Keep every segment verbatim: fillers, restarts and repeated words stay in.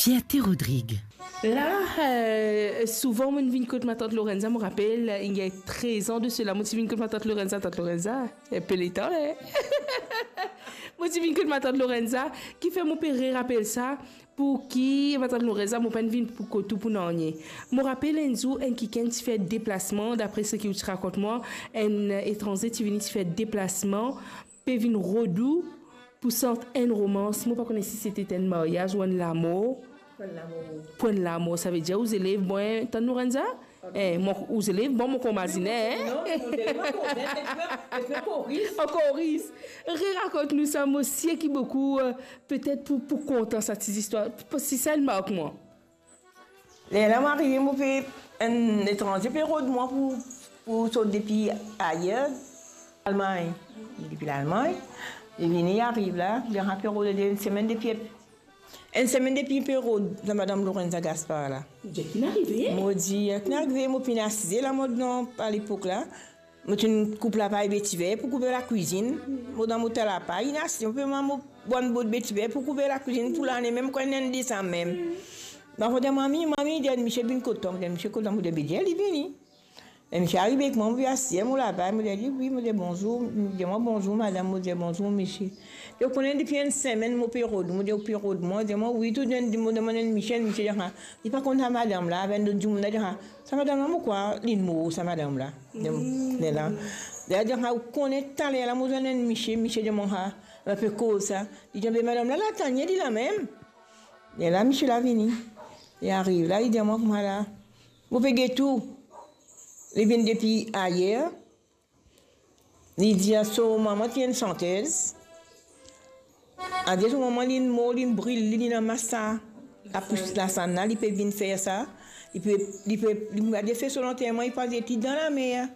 Fierte Rodrigue. La, eh, souvan mo vinn kot matant Lorenza, mo rapel, eh, il y a treize ans de cela, mo ti vinn kot matant Lorenza, tant Lorenza, eh, pe letan, eh. Mo ti vinn kot matant Lorenza, kifer mo pe re rapel sa, pou ki matant Lorenza, mo pa'nn vinn pou kot ou pou nanye. Mo rapel enn zour, enn kikenn ti fer deplasman, dapre seki ou ti rakont mwa, enn etranze ti vini ti fer deplasman, pe vinn rod ou pou sant enn romans, mo pa kone si sete enn maryaz ou enn lamor. Pou enn lamor. Pou enn lamor, savedir ou zelev bon, tann Lorenza? Eh, mo, ou zelev bon, mo konmazine, eh? Non, mo zelev ankor, ankor ris. Re rakont nou sa, mo sir ki boukou, eh, petet pou, pou kontan sa ti zistwar, pou, si sa inn mark mwa. Lerla mo arive, mo pe, enn etranze pe rod mwa pou, pou sot depi ayer, Lalmagn. Depi Lalmagn, li vini, li ariv la, li arive pe rod enn semenn depi, enn semenn depi pe rod sa madam Lorenza Gaspar la. Mo dir, ki'nn arive? Mo dir, ki'nn arive, mo finn asize la, mo dan, alepok la, mo ti koup lapay betiver pou kouver lakwizinn. Mo dan mo ta lapay, inn asize, mo pe manz mo bann bout betiver pou kouver lakwizinn pou lane, mem kan inn desam mem. Mo dir, mami, mami, dir, Michel vinn kot twa? Mo dir, Michel kot twa? Mo dir, be dir, li vini. Michel arive ek mwa, mo pe asize mo lapay, mo dir li, wi, mo dir, bonzour, li dir mwa, bonzour, madam, mo dir, bonzour, misie. Li dir, ou kone depi enn semenn mo pe rod ou? Mo dir, ou pe rod mwa? Li dir mwa, wi, tou, mo demann enn Michel, Michel dir, ah, li pa konn sa madam la, avek enn lot dimoun la, dir, ah, sa madam la, mo krwar linn mor, sa madam la. Lerla, lerla dir, ah, ou kone taler la, mo zwenn enn misie, misie dir mwa, ah, nou pe koz sa. Li dir, be madam la, la, Tania, li la mem. Lerla misie la vini. Li ariv la, li dir mwa kouma la, mo pe get ou. Li vinn depi ayer. Li dir so mama ti enn santez. Adir so mama linn mor, linn bril, li, li dan mas sa. Apous lasann la, li pe vinn fer sa. Li pe, li pe, li pe fer so lanterman, li pa zet li dan lamer.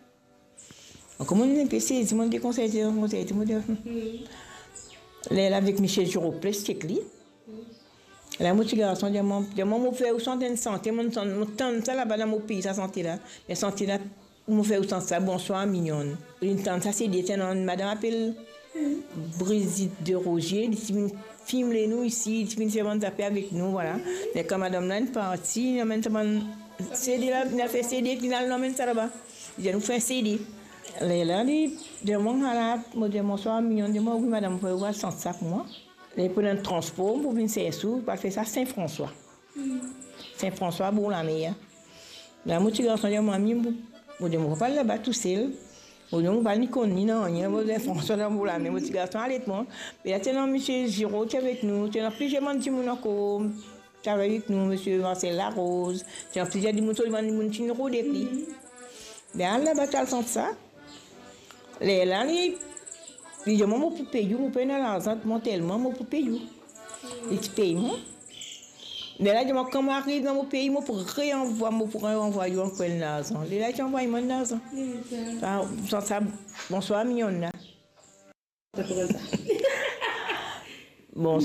Ankor mo inn pe sezi, mo inn konserte, konserte, mo dir, hmm. Lerla avek misie Giro plis ek li. La mo ti garson dir mwa, dir mwa, mo fer ou sant enn sante, mo, mo tann sa laba dan mo pei, sa sante la. Me sante la, mo fer ou sant sa, Bonswar Minyonn. Linn tann sa, se de, ti ena enn madam apel Brigitte de Roger, li ti vinn fim le nou isi, li ti vinn fer bann zafer avek nou, vwala. Me kan madam la inn parti, li amenn sa bann CD la, li al fer CD, li al amenn sa laba. Li dir nou fer CD. Lerla li dir mwa, ala, mo dir, Bonswar Minyonn, dir mwa, wi madam, mo fer ou al sant sa pou mwa. Li pran enn transpor pou vinn sers ou, pou al fer sa Sin Franswa. Sin Franswa, Bourlamer. La mo ti garson dir mwa, mami, mo, mo dir, mo pa pou al laba tousel. Mo dir, mo pa ni konn ni nanye, mo dir, Franswa dan Bourlamer, mo ti garson ale ek mwa. Me la ti ena misie Giro ti avek nou, ti ena plizier bann dimoun ankor ti travay avek nou, misie Marcel Larose, ti ena plizier dimoun, so bann dimoun ti rod ek li. Be al laba, ti al sant sa. Lerla li, li dir mwa, mo pou pey ou, mo pena larzan, mo telman mo pou pey ou. Li ti pey mwa. Lerla li dir mwa, kan mo ariv dan mo pei, mo pou reanvwa, mo pou reanvway ou ankor enn larzan. Lerla li ti anvway mwa enn larzan. Sa, sa, sa, Bonswar Minyonn la. Bon,